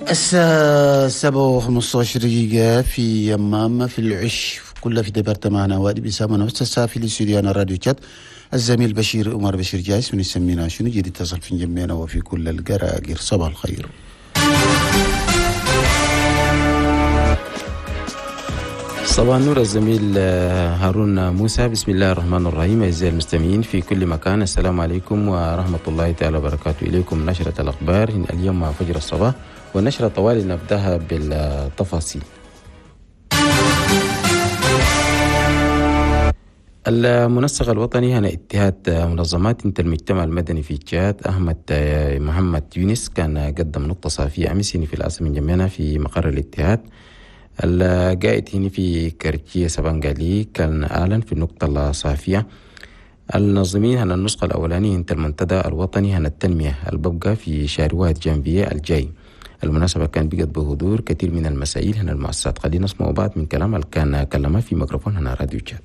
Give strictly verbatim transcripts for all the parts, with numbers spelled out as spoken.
الساعة سبعة وخمسة دقيقة في يمام في العش كلها في département وادي بيسامنا نفس الساعة في الاستوديو راديو تشاد. الزميل بشير عمر بشير جايس من يسمينا شنو جديد اتصل في جميعنا وفي كل القراقير. صباح الخير. صباح النور الزميل هارون موسى. بسم الله الرحمن الرحيم. أعزائي المستمعين في كل مكان، السلام عليكم ورحمة الله تعالى وبركاته. إليكم نشرة الأخبار اليوم مع فجر الصباح، والنشرة طوال نبدأها بالتفاصيل. المنسق الوطني هنا اتحاد منظمات المجتمع المدني في تشاد أحمد محمد يونس كان قدم نقطة صافية أمس في العاصمة جميعنا في مقر الاتحاد. القائد هنا في كرتية سبانغالي كان أعلن في النقطة الصافية النظمين هنا النسخة الأولانية انت المنتدى الوطني هنا التنمية الببقى في شهر واحد جانفية الجاي. المناسبة كان بقت بحضور كثير من المسائل هنا المؤسسات. خلينا نسمع بعض من كلام اللي كان كلمه في ميكروفون هنا راديو تشاد.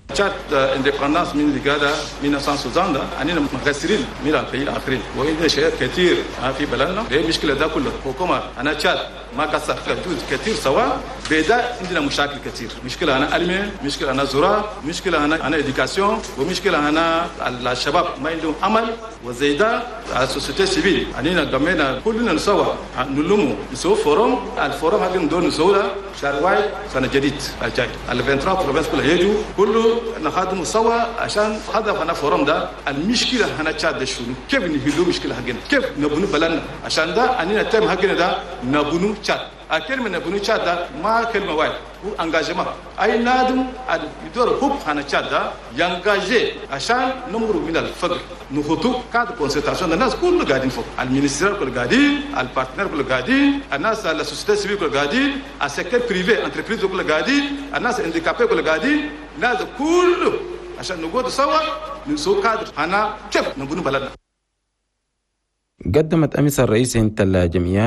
تشاد indépendance من لقادة ألف وتسعمائة وستين أننا مقصرين من ال pays الآخرين وعندنا شيء كثير في بلدنا. ليه المشكلة ده كله؟ حكومة أنا تشاد ما قصر جزء كثير سوا بدا عندنا مشاكل كثير. مشكلة أنا علمي، مشكلة أنا زراعة، مشكلة أنا أنا éducation، ومشكلة أنا الشباب ما عندهم عمل، وزيدا ال société civile أننا قمنا كلنا سوا نلمو نسوي forum. ال forum هذا ندور نسوي شهر واحد سنة جديد الجاي ال ثلاثة وعشرين provinces كلها يجوا كله نخدم سوا عشان هدف هنا forum ده. المشكلة هنا تشاد شنو؟ كيف نحلوا مشكلة حقنا؟ كيف نبنوا بلدنا؟ عشان ده أننا تم حقنا ده نبنوا تشاد. الكلمة نبنوا تشاد ده ما كلمة واحد، هو engagement. أي نادم يدور حب هنا تشاد ده ي engager عشان نمر من الفقر. نخطو cadre concertation الناس كله قاعدين فوق، ال ministère كله قاعدين، ال partenaires كله قاعدين، الناس ال société civile كله قاعدين، ال secteur privé entreprises كله قاعدين، الناس handicapés كله قاعدين، الناس كله عشان نقعد سوا نسوق كادر هنا كيف نبنوا بلدنا. قدمت أمس الرئيس انت الجمعيات